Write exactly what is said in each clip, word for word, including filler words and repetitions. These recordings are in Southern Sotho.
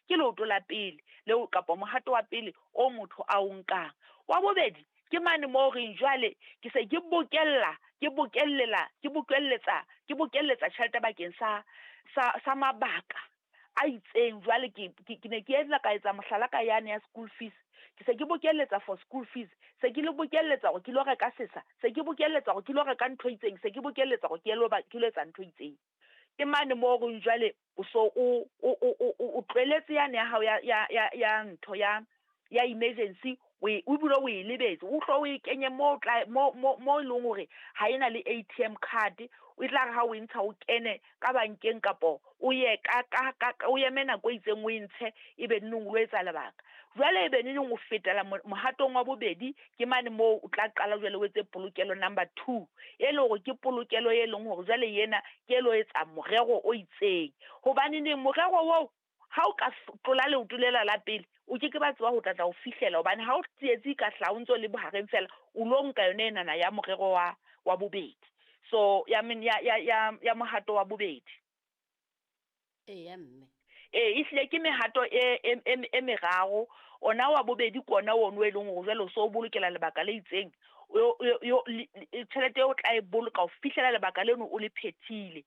Ke leoto la pele leo kapa mohato wa pele o motho a o nkang. Wa bobedi, ke mane moo reng jwale ke se ke bokella, ke bokellela, ke bokelletsa, ke bokelletsa tjhelete bakeng sa sa sa mabaka a itseng. Jwale ke ke ne ke etsa ka etsa mohlala ka yane ya school fees. Ke se ke bokelletsa for school fees, se ke le bokelletsa hore ke lo reka sesa, se ke bokelletsa hore ke lo reka ntho e itseng, se ke bokelletsa hore ke lo ke lo etsa ntho e itseng. Ke mane moo reng jwale o so o o o o tlohelletse yane ya hao ya ya ya ya ntho ya ya emergency, o e o bile o e lebetse, o hlo o e kenye mo tla mo mo mo e leng hore ha ena le A T M card, o tla re ha o e ntsha o kene ka bankeng kapo o ye ka ka ka o eme nako e itseng o e ntshe, ebe neneng o lo etsa lebaka. Jwale ebe neneng o fetela mohatong wa bobedi, ke mane moo o tla qala jwale o etse polokelo number two, e leng hore ke polokelo e leng hore jwale ena ke e lo etsa morero o itseng. Hobaneneng morero oo ha o ka tlola leoto lela la pele, o ke ke ba tseba ho tla tla o fihlela, hobane ha o tsietsi ka hlaha o ntso le bohareng fela, o lo nka yona enana ya morero wa wa bobedi. So ya ya ya ya ya mohato wa bobedi. Eya mme. Ee, ehlile ke mehato e e e meraro. Ona wa bobedi ke ona ono e leng hore jwale o so o bolokela lebaka le itseng, tjhelete eo o tla e boloka ho fihlela lebaka leno o le phethile.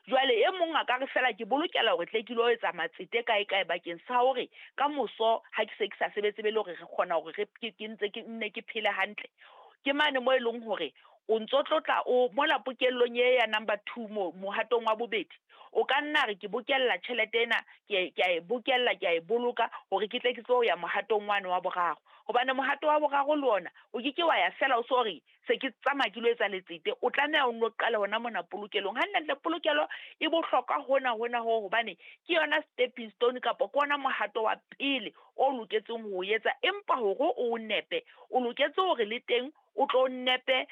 Jwale e mong a ka re fela ke bolokela hore tle ke lo etsa matsete kae kae bakeng sa hore ka moso ha ke se ke sa sebetse be le hore re kgona hore re ke ntse ke nne ke phele hantle. Ke mane moo e leng hore o ntso tlotla o mola pokellong e ya number two, mo mohatong wa bobedi, o ka nna re ke bokella tjhelete ena, ke ke a e bokella, ke a e boloka hore ke tle ke tsebe ho ya mohatong wane wa boraro. Hobane mohato wa boraro le ona o ke ke wa ya fela o so re se ke tsamaya ke lo etsa letsete, o tlameha o nno qale hona mona polokelong. Hantle polokelo e bohlokwa hona hona ho, hobane ke yona stepping stone kapa ke ona mohato wa pele o loketseng ho o etsa. Empa hore o nepe, o loketse hore le teng o tlo nepe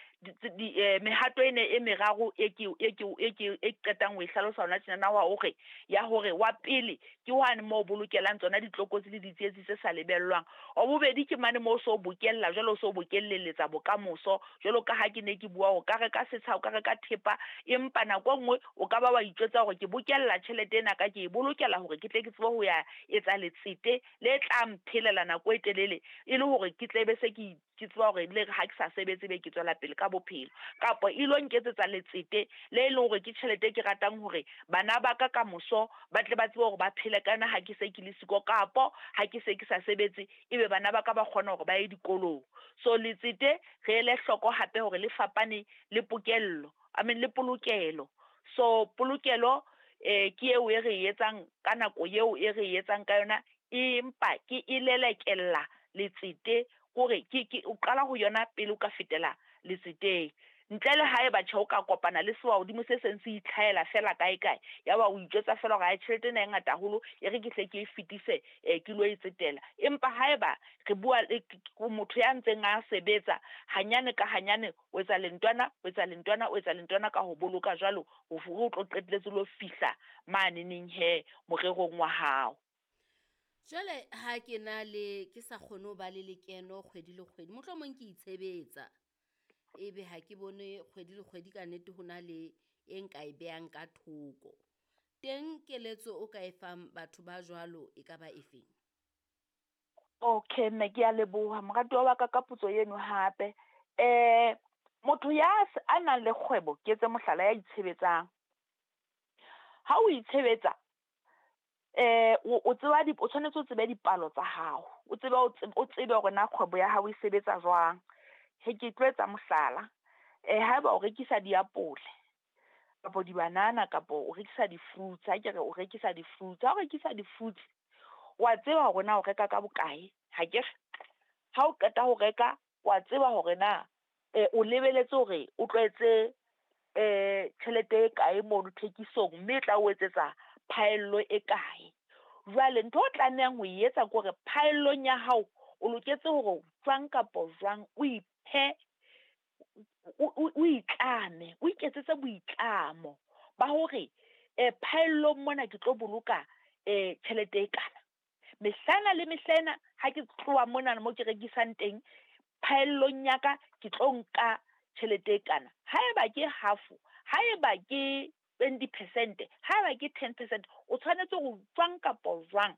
mehato ena e meraro e ke e ke e ke e qetang ho e hlalosa hona tjenana, wa hore ya hore wa pele ke hwane moo bolokelang tsona ditlokotsi le ditsietsi tse sa lebellwang. Wa bobedi ke mane moo o so bokella jwale, o so bokelleletsa bokamoso, jwalo ka ha ke ne ke bua, o ka reka setsha, o ka reka thepa, empa nako e nngwe o ka ba wa itjwetsa hore ke bokella tjhelete ena ka ke e bolokela hore ke tle ke tsebe ho ya etsa letsete le tla mphelela nako e telele, e le hore ke tle be se ke ke tseba hore le ha ke sa sebetse be ke tswela pele ka bophelo, kapa e lo nketsetsa letsete le leng hore ke tjhelete e ke ratang hore bana ba ka kamoso ba tle ba tsebe hore ba phele ka yona ha ke se ke le siko, kapo ha ke se ke sa sebetse ebe bana ba ka ba kgona hore ba ye dikolong. So letsete re ele hloko hape hore le fapane le pokello, I mean le polokelo. So polokelo eh ke eo e re etsang ka nako eo e re etsang ka yona, empa ke e lelekella letsete, hore ke ke o qala ho yona pele o ka fetela letseteng. Ntle le haeba tjhe o ka kopana le sewa hodimo se seng se itlhahela fela kae kae, ya ba o itjwetsa fela hore ha tjhelete ena e ngata haholo, e re ke hle ke e fetise eh ke lo e tsetela. Empa haeba re bua le motho ya ntseng a sebetsa hanyane ka hanyane, o etsa lentwana, o etsa lentwana, o etsa lentwana ka ho boloka jwalo, ho o tlo qetelletse lo fihla mane neng he morerong wa hao. Jwale ha ke na le ke sa kgone ho ba le lekeno kgwedi le kgwedi, mohlomong ke itshebetsa, ebe ha ke bone kgwedi le kgwedi ka nnete ho na le e nka e behang ka thoko. Teng keletso o ka e fang batho ba jwalo e ka ba efeng? Okay mme, ke a leboha moratuwa wa ka ka potso eno hape. Eh motho ya a nang le kgwebo, ke etse mohlala, ya itshebetsang. Ha o itshebetsa eh o tseba di o tshwanetse o tsebe dipalo tsa hao, o tsebe o tsebe hore na kgwebo ya hao e sebetsa jwang. He ke tlo etsa mohlala, eh haeba o rekisa diapole kapa dibanana kapa o rekisa di-fruits, ha ke re o rekisa di-fruits, ha o rekisa di-fruits wa tseba hore na o reka ka bokae, hakere? Ha o qeta ho reka, wa tseba hore na o lebeletse hore o tlo etse eh tjhelete e kae mono thekisong, mme e tla o etsetsa phaello e kae. Jwale ntho o tlamehang ho e etsa ke hore phaellong ya hao o loketse hore jwang kapa jwang o iphe, o itlame, o iketsetse boitlamo ba hore eh phaellong mona ke tlo boloka eh tjhelete e kana. Mehlana le mehlena ha ke tloha mona mo ke rekisang teng, phaellong ya ka ke tlo nka tjhelete e kana. Haeba ke half, haeba ke twenty percent, haeba ke ten percent, o tshwanetse ho jwang kapa jwang